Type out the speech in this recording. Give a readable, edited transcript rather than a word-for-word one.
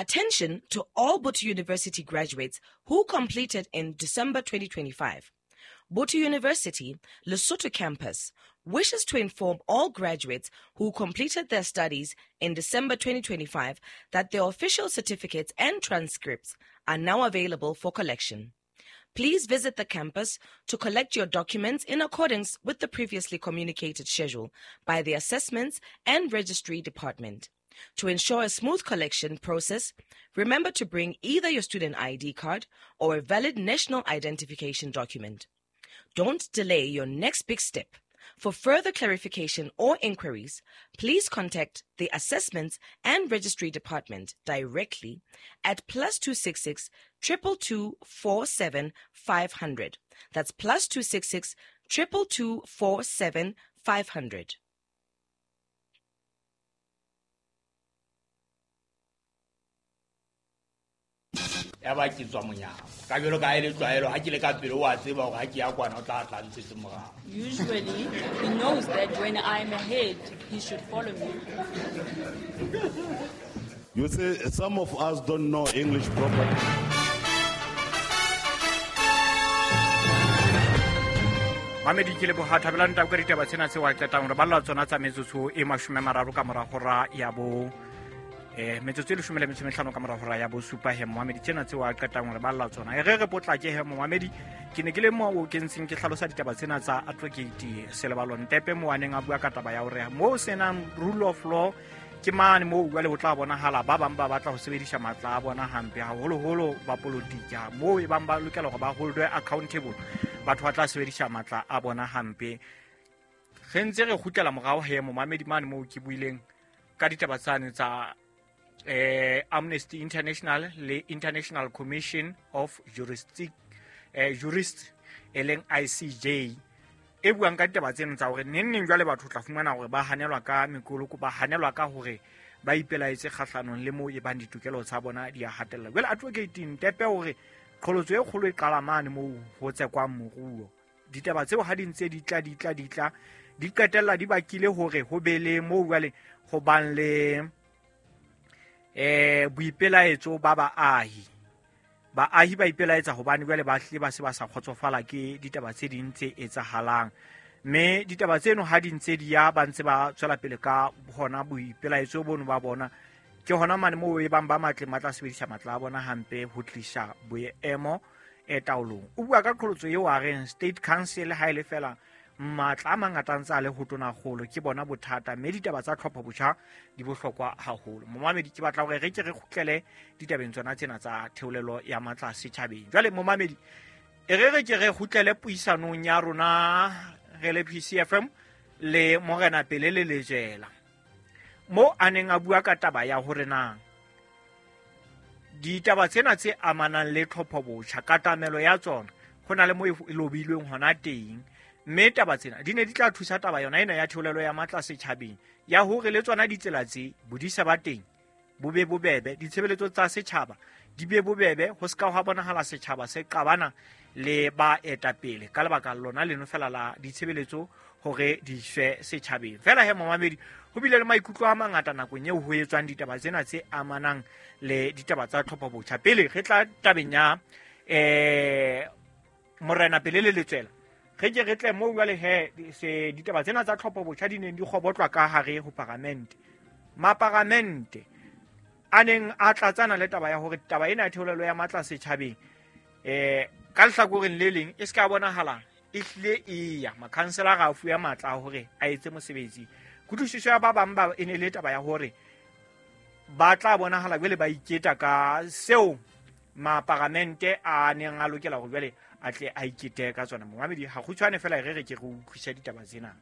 Attention to all Botho University graduates who completed in December 2025. Botho University, Lesotho campus, wishes to inform all graduates who completed their studies in December 2025 that their official certificates and transcripts are now available for collection. Please visit the campus to collect your documents in accordance with the previously communicated schedule by the Assessments and Registry Department. To ensure a smooth collection process, remember to bring either your student ID card or a valid national identification document. Don't delay your next big step. For further clarification or inquiries, please contact the Assessments and Registry Department directly at +266 222 47 500. That's +266 222 47 500. Ya ba ke tswa monyako ka jalo ka e le tlwaelo ga ke le ka pele o a tseba gore ga ke ya kwana o tla tla ntshetse morago. Usually, he knows that when I'm ahead, he should follow me. You see, some of us don't know English properly. Mamedi, ke leboga thabelang tabo ka ditaba tsena tse wa qetang re balla tsona tsa metsotso e 30 ka mora hora ya bo metsotso e 15 ka mora hora ya bo supa. He momamedi, tsena tse wa qetang re balla tsona e re re potlake. He momamedi, ke ne ke le mo ke ntseng ke hlalosa ditaba tsena tsa Advocate Selebalo Ntepe mo a neng a bua ka taba ya hore mo senang rule of law ke mane moo jwale ho tla bonahala ba bang ba batla ho sebedisa matla a bona hampe, haholoholo ba polotiki, moo e bang ba lokela hore ba holdwe accountable, batho ba tla sebedisa matla a bona hampe. Re ntse re kgutlela morao he momamedi mane moo ke buileng ka ditaba tsane tsa Amnesty International le International Commission of Jurists e leng ICJ e buang ka ditaba tseno tsa hore neng neng jwale batho tla fumana hore ba hanelwa ka mekoloko, ba hanelwa ka hore ba ipelaetse kgahlanong le moo e bang ditokelo tsa bona di a hatella. Jwale Advocate Ntepe hore qholotso e kgolo e qala mane moo ho tsekwang moruo. Ditaba tseo ha di ntse di tla di tla di tla di qetella di bakile hore ho be le moo jwale ho bang le boipelaetso ba baahi. Baahi ba ipelaetsa hobane jwale ba hle ba se ba sa kgotsofala ke ditaba tse ding tse etsahalang, mme ditaba tseno ha di ntse di ya ba ntse ba tswela pele ka hona boipelaetso bono ba bona. Ke hona mane moo e bang ba matle matla sebedisa matla a bona hampe ho tlisa boemo e taolong. O bua ka qholotso eo a reng State Council ha e le fela matla a mangata a ntse a le ho tonakgolo ke bona bothata, mme ditaba tsa tlhopho botjha di bohlokwa haholo. Momamedi, ke batla hore re ke re kgutlele ditabeng tsona tsena tsa theolelo ya matla setjhabeng. Jwale momamedi, e re re ke re kgutlele puisanong ya rona re le PCFM le Morena Pele le Lejela, mo a neng a bua ka taba ya hore na ditaba tsena tse amanang le tlhopho botjha, katamelo ya tsona ho na le mo e lobilweng hona teng, mme taba tsena di ne di tla thusa taba yona ena ya theolelo ya matla setjhabeng ya hore le tsona ditsela tse bodisa ba teng bo be bobebe, ditshebeletso tsa setjhaba di be bobebe, ho ska hwa bonahala setjhaba se qabana le ba etapele ka lebaka lona leno fela la ditshebeletso hore di iswe setjhabeng. Fela he momamedi, ho bile le maikutlo a mangata nakong eo ho etswang ditaba tsena tse amanang le ditaba tsa tlhopho botjha. Pele re tla tabeng ya Morena Pele le Letswela, re ke re tle moo jwale he se ditaba tsena tsa tlhopho botjha di neng di kgobotlwa ka hare ho paramente. Maparamente a neng a tlatsana le taba ya hore taba ena ya theolelo ya matla setjhabeng ka lehlakoreng le leng e se ka bonahala e hlile e ya makhanselara a fuwe matla a hore a etse mosebetsi. Kutlwisiso ya ba bang ba e ne le taba ya hore ba tla bonahala jwale ba iketa ka seo maparamente a neng a lokela hore jwale a tle a ikete ka tsona. Momamedi, ha kgutshwane fela re re ke re utlwisa ditaba tsena.